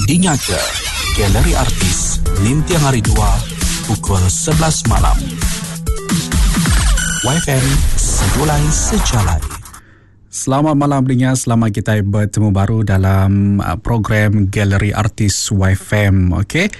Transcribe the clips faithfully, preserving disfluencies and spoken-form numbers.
Dingaka Galeri Artis ninting hari dua pukul sebelas malam. Y F M Segulai Sejalai. Selamat malam pendengar, selamat kita bertemu baru dalam uh, program Galeri Artis Y F M. Okey.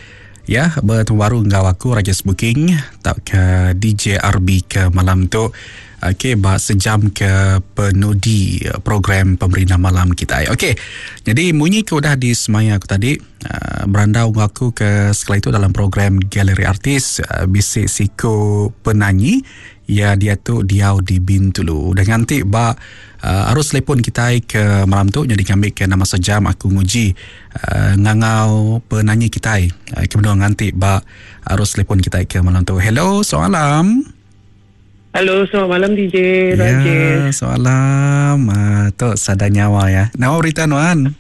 Ya, bertemu baru enggau aku Rajes Booking tak ke D J R B ke malam tu. Okey, bah sejam ke penudi uh, program pemerintah malam kita. Okey. Jadi munyi ke udah di semaya aku tadi, uh, berandau enggau aku ke sekali itu dalam program Galeri Artis uh, bisi siko penyanyi ya, dia tu diau di Bintulu. Dan nganti ba uh, arus telepon kita ke malam tu, jadi kami ke nama sejam aku nguji uh, ngangau penyanyi kita uh, kemudian nganti ba arus telepon kita ke malam tu. Hello, selamat malam. Halo, selamat malam D J Ya, Rajesh. Selamat malam. Uh, tu sada nyawa ya. Nama berita nuan?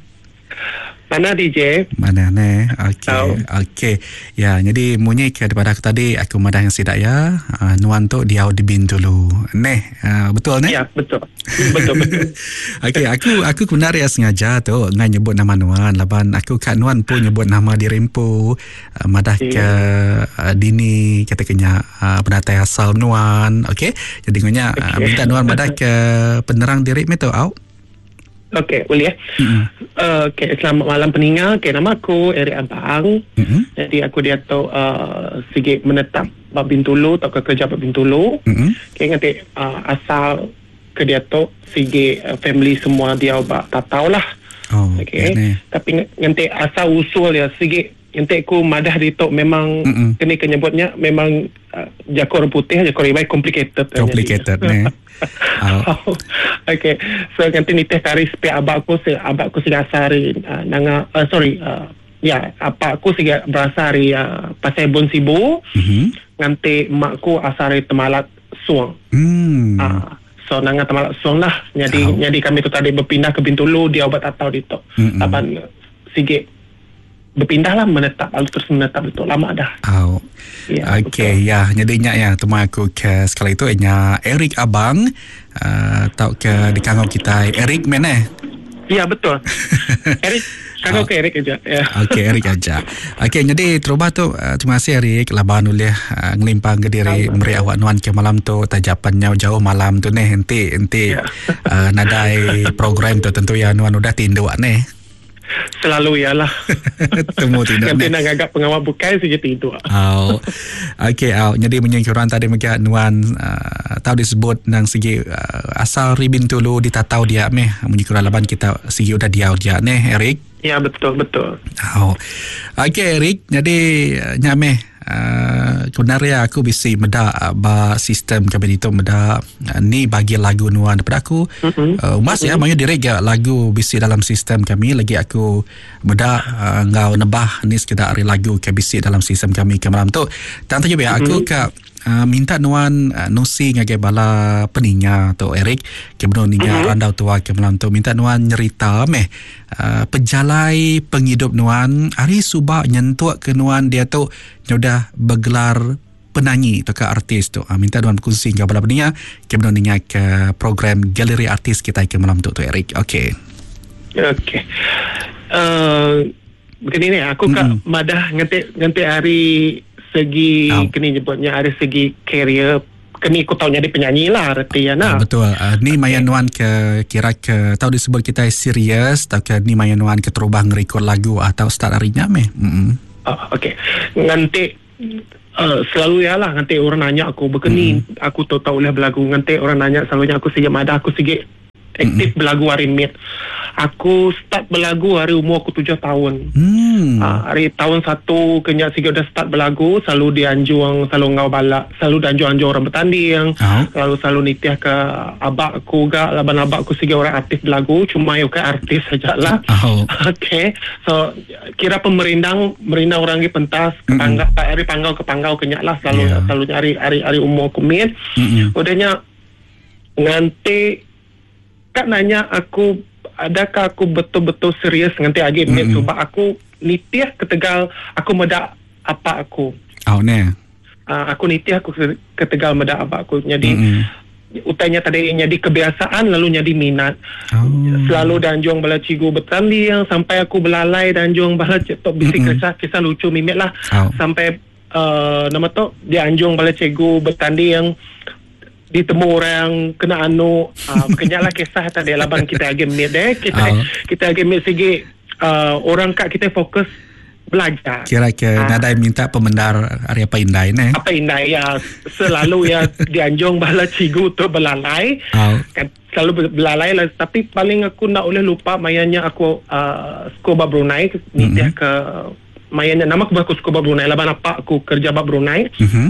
Mana D J? Mana ne? Okey. Tahu. Okey. Ya, jadi munyi ke daripada aku tadi aku madah yang sidak ya. Uh, nuan tu diau di Bintulu. Neh, uh, betul ne? Ya, betul. Betul, betul. Okey, aku aku benar ya sengaja tu ngai nyebut nama nuan laban aku kat nuan pun nyebut nama dirimpu uh, madah ke uh, dini kata kenya uh, penatai asal nuan. Okey. Jadi ngonya uh, Okey. minta nuan madah ke penerang diri me tu au. Okey, boleh ya? Mm-mm. Uh, Okey, selamat malam peninga. Okey, nama aku Eric Abang. Mm-mm. Jadi aku dia tu uh, sikit menetap bab Bintulu atau ke kerja bab Bintulu. Mm-mm. Okey, nanti uh, asal ke dia tu sikit uh, family semua dia bab tatau lah. Oh, Okey. ya ni. Tapi nanti asal usul ya sikit nanti aku madah di tu memang Mm-mm. kini kenyebutnya memang uh, jakor orang putih, jakor ribai complicated. Complicated ni. Oh. Okay. So nanti nitih kari sepi abak aku se abak aku siga asari uh, nanga uh, sorry uh, ya apa aku siga berasal dari uh, Pasai Bon Sibu. Mhm. Nanti makku asal dari Temalat Suang. Hmm. Ah, so nanga Temalat Suang lah. Jadi Oh. jadi kami tu tadi berpindah ke Bintulu dia obat atau di tu. Mm-mm. Lapan sikit berpindah lah menetap lalu terus menetap itu lama dah. Oh. Ya, Okey, ya, jadi nyak ya teman aku ke sekali itu nya Eric Abang uh, tau ke di kangau kita Eric mana? Ya, betul. Eric, kangau ke Eric aja. Ya. Okey, Eric aja. Okey, jadi terubah tu uh, terima kasih Eric laban ulih uh, ngelimpang ke diri meri awak nuan ke malam tu tajapannya jauh malam tu neh enti enti Ya. uh, nadai program tu tentu ya nuan udah tinduk neh. Selalu ialah. Temu tinduk Nanti neh. nak gagap pengawal bukai saja tidur. Oh. Okey, oh. Jadi menyingkiran tadi mega nuan uh, tahu disebut nang segi uh, asal ribin tulu ditatau dia meh menyingkiran laban kita segi udah diau dia neh Eric. Ya, betul betul. Oh. Okey Eric, jadi uh, nyameh uh, sebenarnya aku bisi meda uh, ba sistem kami itu meda uh, ni bagi lagu nuan daripada aku Mm-mm. uh, mas ya mayu direct ya lagu bisi dalam sistem kami lagi aku meda uh, ngau nebah ni sekedar hari lagu ke bisi dalam sistem kami ke malam tu. Tang tu ya aku ke uh, minta nuan uh, nusi ngagai bala peninga tu Eric ke benar ninga Mhm. randau tua ke malam tu minta nuan nyerita meh uh, pejalai penghidup nuan hari subak nyentuk ke nuan dia tu udah bergelar penyanyi atau ke artis tu. Uh, minta nuan berkongsi dengan bala peninga ke benar ninga ke program Galeri Artis kita ke malam tu tu Eric. Okey. Okey. Uh, begini ni aku mm. kak Mm-mm. madah nganti nganti hari segi Oh. kini nyebutnya hari segi career kini aku tahu jadi penyanyi lah reti ya Ah, nah. betul. Uh, ni maya nuan ke kira ke tahu disebut kita serius atau ke ni maya nuan ke terubah ngerekod lagu atau start harinya meh. Mm. Oh, okey. Nganti uh, selalu ya lah nganti orang nanya aku begini mm. aku tahu tahu boleh berlagu nganti orang nanya selalunya aku sige madah aku sige aktif mm. berlagu hari mid. Aku start berlagu hari umur aku tujuh tahun. Hmm. Ah, hari tahun satu kenyak sige udah start berlagu selalu dianjung selalu ngau balak selalu dianjung-anjung orang bertanding Oh. selalu selalu nitiah ke abak aku gak laban abak aku sige orang artis berlagu cuma yo ke artis saja lah. Oh. Okay, so kira pemerindang merindang orang di pentas ke Mm-mm. panggau, hari panggau ke panggau kenyak lah selalu Yeah. selalu hari hari hari umur aku mid. Mm-mm. Udahnya nganti kak nanya aku adakah aku betul-betul serius nganti agi mid Mm-mm. sebab aku nitiah ketegal aku medak apa aku. Oh ne. Uh, aku nitiah aku ke- ketegal medak apa aku. Jadi Mm-mm. Utainya tadi jadi kebiasaan lalu jadi minat. Oh. Selalu danjung bala cigu bertanding sampai aku belalai danjung bala tok bisi Mm-mm. kisah kisah lucu mimik lah. Oh. Sampai uh, nama tu dianjung bala cikgu bertanding ditemu orang kena anu uh, kenyalah kisah tadi laban kita agi mid eh kita Oh. kita agi mid sigi uh, orang kat kita fokus belajar. Kira ke Ah. nadai minta pemendar hari apa indai ne. Apa indai ya selalu ya dianjung bala cikgu tu belalai. Oh. Kan selalu belalai lah, tapi paling aku nak boleh lupa mayanya aku uh, sekolah Brunei nitih Mm-hmm. ke mayanya nama aku aku sekolah Brunei laban apa aku kerja ba Brunei. Mhm.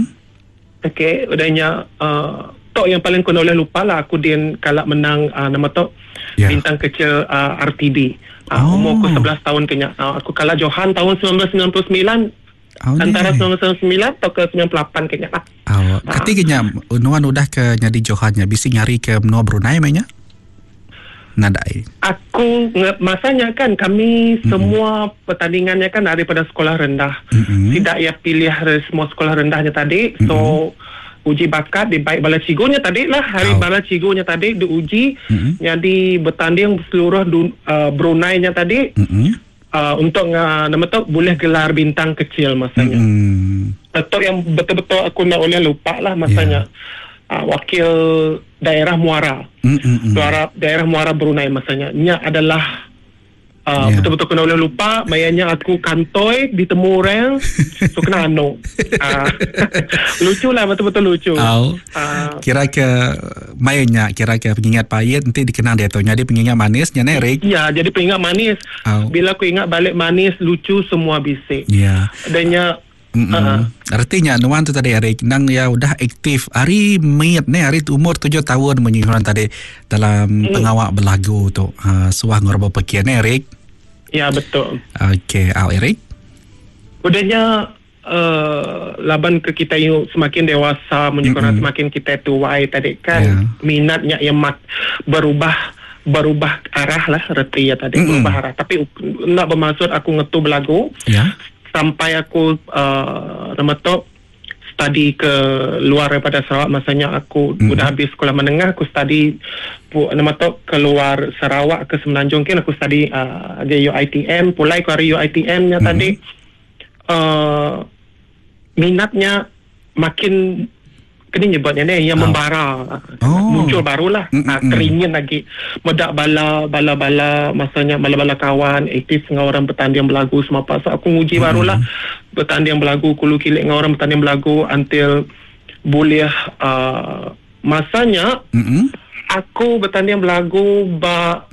Okey, udahnya uh, tok yang paling aku nak boleh lupa lah aku din kalak menang uh, nama tok Ya. bintang kecil uh, R T D. Uh, Oh. Umur aku sebelas tahun kenya. Uh, aku kalah Johan tahun sembilan belas sembilan puluh sembilan. Oh, Antara ni. sembilan belas sembilan puluh sembilan atau ke sembilan puluh lapan kenya lah. Oh, ketikanya nuan udah ke nyadi Johannya bisi ngari ke menua Brunei mainnya? Nadai. Aku nge- masanya kan kami Mm-mm. semua pertandingannya kan daripada sekolah rendah. Mm-mm. Tidak ia pilih dari semua sekolah rendahnya tadi. So uji bakat di baik bala cigunya tadi lah hari Oh. bala cigunya tadi diuji Mm-mm. jadi bertanding seluruh dun, uh, Brunei-nya tadi Mm-mm. uh, untuk uh, nama tu boleh gelar bintang kecil masanya. Mm-mm. Betul yang betul-betul aku nak boleh lupa lah masanya. Uh, wakil daerah Muara. Mm-mm. Daerah, daerah Muara Brunei masanya. Nya adalah uh, Ya. betul-betul kena boleh lupa. Mayanya aku kantoi ditemu orang so kena anu. Uh, lucu lah betul-betul lucu. Oh. Uh, Kira ke mainnya kira ke pengingat pahit nanti dikenal dia tu. Jadi pengingat manisnya nih Rick. ya jadi pengingat manis. Oh. Bila aku ingat balik manis lucu semua bisik. Ya. Adanya Mm-mm. uh, Artinya nuan tu tadi Eric nang ya udah aktif hari miet ni hari umur tujuh tahun menyuruh tadi dalam Mm. pengawak belagu tu. Uh, suah ngorbo pekian ni Eric. ya betul. Okey, au Eric. Udahnya uh, laban ke kita yuk semakin dewasa menyukur Mm-mm. semakin kita tuai tadi kan Ya. minatnya yang mat, berubah berubah arah lah reti ya tadi Mm-mm. berubah arah tapi nak bermaksud aku ngetu belagu Ya. sampai aku uh, nama tu study ke luar daripada Sarawak masanya aku Mm-mm. udah habis sekolah menengah aku study pu, nama tu keluar Sarawak ke Semenanjung kan aku study uh, di U I T M pulai ke hari U I T M nya Mm-mm. tadi uh, minatnya makin kena nyebutnya ni yang Oh. membara Oh. muncul barulah Mm, mm, uh, mm. teringin lagi medak bala bala bala masanya bala bala kawan aktif dengan orang bertanding belagu semua apa so aku nguji Mm. barulah bertanding belagu kulu kilik dengan orang bertanding belagu until boleh uh, masanya Mm-mm. aku bertanding belagu ba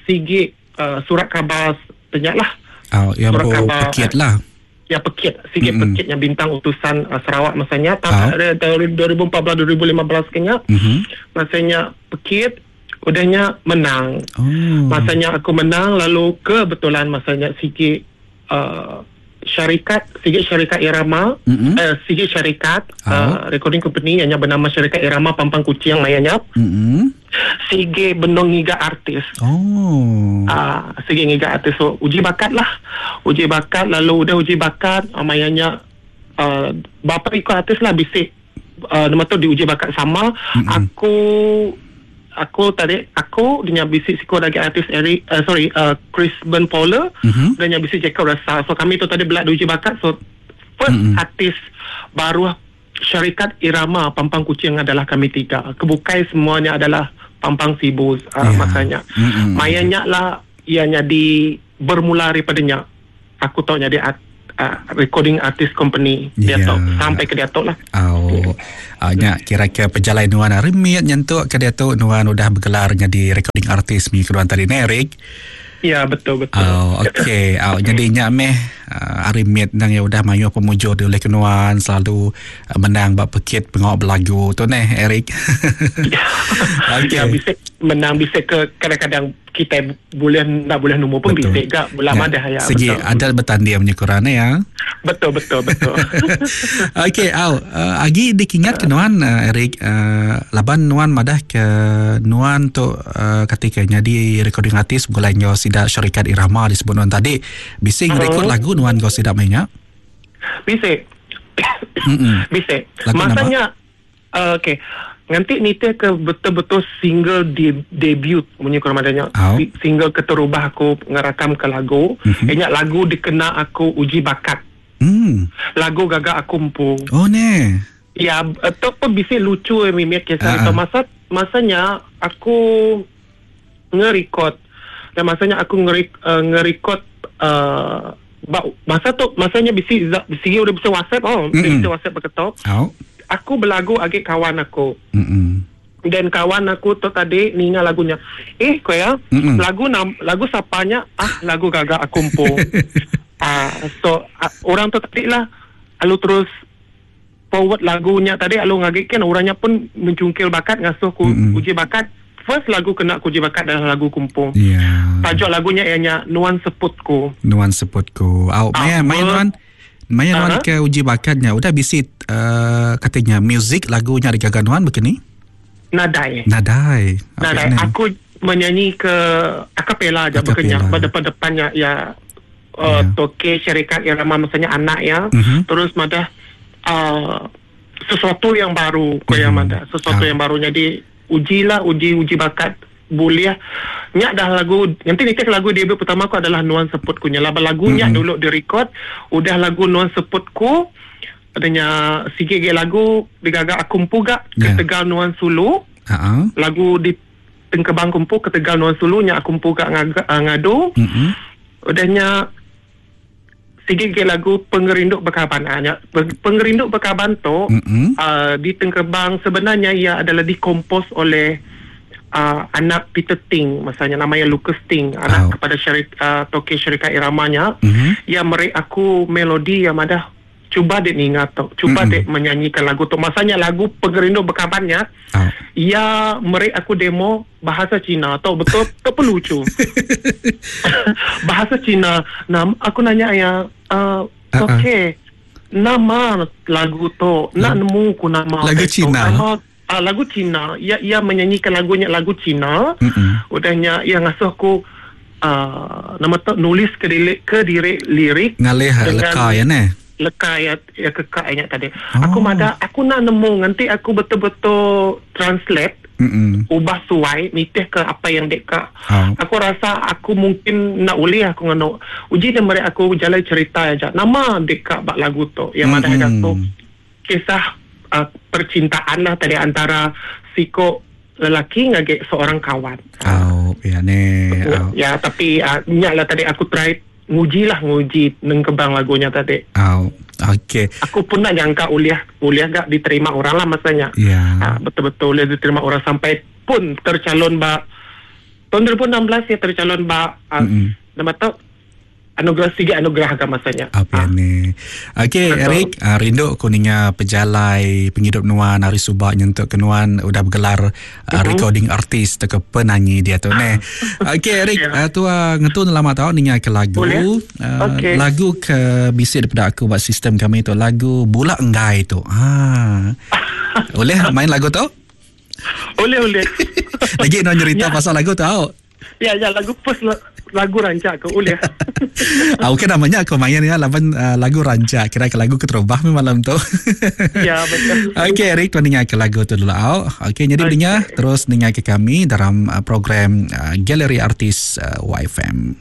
sigi uh, surat khabar banyak lah Oh, yang Surat bo khabar. pekit lah. ya pekit sikit Mm-mm. mm-hmm. pekitnya bintang utusan uh, Sarawak masanya Ah. tahun tahun dua ribu empat belas dua ribu lima belas kenya Mhm. masanya pekit udahnya menang Oh. masanya aku menang lalu kebetulan masanya sikit uh, syarikat sikit syarikat Irama Mm-mm. eh, sikit syarikat Ah. uh, recording company yang bernama syarikat Irama Pampang Kuching mayanya Mm-mm. sige benong ngiga artis Oh. Ah, sige ngiga artis so uji bakat lah uji bakat lalu udah uji bakat uh, mayanya uh, bapa ikut artis lah bisik uh, nama tu diuji bakat sama Mm-mm. aku aku tadi aku dengan bisik siko lagi artis Eric uh, sorry uh, Chris Ben Fowler Mhm. dan yang bisik Jacob Rasa so kami tu tadi belak diuji bakat so first Mm-mm. artis baru syarikat Irama Pampang Kuching adalah kami tiga kebukai semuanya adalah Pampang Sibu uh, Ya. masanya Mm-mm. Mayanya lah ianya di bermula daripadanya aku tahu jadi art, uh, recording artist company dia Ya. tahu sampai ke dia tahu lah Oh, uh, nya kira-kira perjalanan nuan hari miat nyentuk ke dia tu nuan udah bergelar jadi recording artist mi keluar tadi ni Eric. ya betul betul Oh, okey. Oh, jadi nya meh uh, hari miat nang ya udah mayu pemujur di oleh kenuan selalu uh, menang bab pekit pengawak belagu tu neh Eric. Okey. Ya bisa menang bisa ke kadang-kadang kita boleh nak boleh nombor pun Betul. bisa gak lama dah ya Segi betul. ada bertanding punya Quran ya. betul betul betul Okey, au uh, agi dikingat ke nuan uh, Eric uh, laban nuan madah ke nuan tu uh, ketika jadi recording artist gulai ngau sida syarikat Irama disebut nuan tadi. Bising Hmm. rekod lagu nuan kau sida mainnya. bisa Mm-mm. bisa Lagu masanya uh, okey Nanti nitih ke betul-betul single de- debut munyi kurang adanya Oh. single keterubah aku ngerakam ke lagu mm-hmm. Ingat lagu dikena aku uji bakat. Hmm. Lagu gagak aku empu. Oh ne. Ya, tu pun bisi lucu eh mimik kisah Ah, itu. ah. Masa masanya aku nge-record. Dan masanya aku nge uh, nge-record uh, masa tu masanya bisi bisi udah bisa WhatsApp oh, Mm-mm. bisa WhatsApp berketok. Oh. Aku berlagu agak kawan aku. Mm-mm. Dan kawan aku tu tadi ninga lagunya. Eh, kau ya, Mm-mm. lagu nam, lagu sapanya ah lagu gagak aku empu. ah, so ah, orang tu tadi lah alu terus forward lagunya tadi alu ngagik kan orangnya pun mencungkil bakat ngasuh ku Mm-mm. uji bakat. First lagu kena ku uji bakat adalah lagu kumpung. Ya. Tajuk lagunya ianya Nuan Seputku. Nuan Seputku. Au, maya Ah, maya nuan maya nuan Aha. ke uji bakatnya udah bisi uh, katanya music lagunya digaga nuan begini? Nadai. Nadai. Nadai. Aku menyanyi ke akapela aja Acapella. bukannya pada depannya ya uh, Ya. toke syarikat irama maksudnya anak ya. Mhm. Terus madah uh, sesuatu yang baru ko yang Mhm. madah sesuatu Ah. yang baru jadi ujilah uji uji bakat boleh nyak dah lagu nanti ni lagu debut pertama aku adalah Nuan Seputku nya laba lagunya Mhm. dulu direkod udah lagu Nuan Seputku adanya sikit ge lagu digagak aku empu gak Ya. ketegal Nuan Sulu Ha. lagu di Tengkebang kumpu ketegal Nuan Sulu nya aku empu gak ngaga, uh, ngadu Mm-mm. udahnya sikit ge lagu Pengerinduk Berkaban ah, nya Peng- Pengerinduk Berkaban tu Mm-mm. uh, di Tengkebang sebenarnya ia adalah dikompos oleh uh, anak Peter Ting masanya namanya Lucas Ting anak Oh. kepada syarik uh, toke syarikat iramanya Mhm. ia meri aku melodi yang ada cuba dek ningat tu cuba Mm-mm. dek menyanyikan lagu tu masanya lagu Pengerinduk Berkabannya Au. ia meri aku demo bahasa Cina tau betul tu pun lucu bahasa Cina nam aku nanya ya uh, Ah, ah. okey nama lagu tu nak nemu ku nama Lagu tu. Cina? Nama, ah, lagu Cina ia ia menyanyikan lagunya lagu Cina Mm-mm. udahnya ia ngasuh aku uh, nama tu nulis ke diri ke diri lirik Ngalih Dengan- leka ya ne. leka ya ya kekak ingat tadi. Oh. Aku mada aku nak nemu nanti aku betul-betul translate Mm-mm. ubah suai nitih ke apa yang dek kak. Oh. Aku rasa aku mungkin nak ulih aku ngeno. Uji dia mereka aku jalan cerita aja. Nama dek kak bak lagu tu yang mana Mm-mm. aku kisah uh, percintaan lah tadi antara siko lelaki ngagek seorang kawan. Au, ya ne. Au. Ya tapi uh, nyak lah tadi aku try nguji lah nguji nengkebang lagunya tadi. Au. Okey. Aku pun nak nyangka uliah uliah gak diterima orang lah masanya. Ya. Ha, betul-betul uliah diterima orang sampai pun tercalon ba tahun dua ribu enam belas ya tercalon ba uh, Mm-mm. nama tu anugerah tiga anugerah agak masanya. Apa Ah, ni? Okey, Betul. Eric, uh, rindu kuningnya pejalai penghidup nuan hari subak nyentuk ke nuan udah bergelar uh, Mhm. recording artist atau ke penyanyi dia tu ne. Okey, Eric, Ya. uh, tua ngetun lama tau ninga ke lagu. Boleh. Uh, Okey. Lagu ke bisik daripada aku buat sistem kami tu lagu Bulak Enggai tu. Ha. Boleh main lagu tu? Boleh boleh. Lagi nak cerita Ya. pasal lagu tu. Tau. ya ya lagu first la- lagu rancak ke boleh. Ah, okey namanya aku main ya laban uh, lagu rancak kira ke lagu keterubah mi malam tu. ya betul. Okey Eric tuan dengar ke lagu tu dulu au. Okey jadi Okey. dengar terus dengar ke kami dalam uh, program uh, Galeri Artis uh, Y F M.